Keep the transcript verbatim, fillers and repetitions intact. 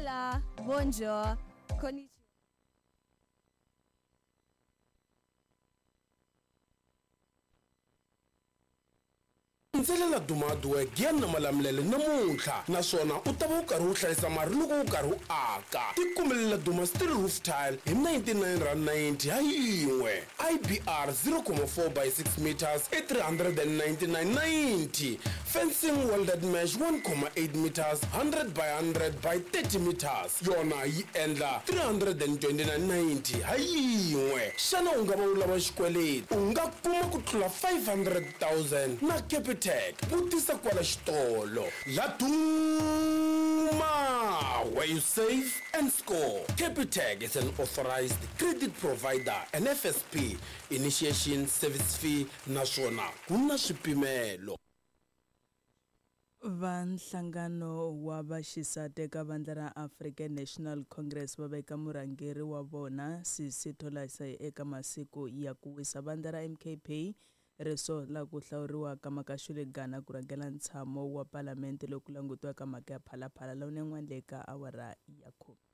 Hola, bonjour, konnichiwa. Ndzelela Dumaduwe Giyani na Malamulele namuntlha naswona u ta va u karhi u hlayisa mali loko u karhi u aka. Tikumelela Duma Steel Roof Tile hi ninety-nine rand ninety ha yin'we. I B R zero comma four by six meters i three hundred and ninety-nine ninety. Fencing welded mesh one comma eight meters hundred by hundred by thirty meters yona yi endla three hundred and twenty-nine ninety ha yin'we. Xana u nga va u lava xikweleti? U nga kuma ku tlula five hundred thousand na Capitec. Vutisa kwala xitolo. Laduma, where you save and score. Capitec is an authorized credit provider and F S P initiation service fee naswona ku na swipimelo. Va nhlangano wa vaxisati eka vandla ra African National Congress va veka murhangeri wa vona Sisi Tholase eka masiku ya ku wisa. Vandla ra M K P ri sola ku hlawuriwa ka Makashule Gana ku rhangela ntshamo wa palamende loku langutiwaka mhaka ya Phalaphala lawa ni yin'wana le ka awara ya khume.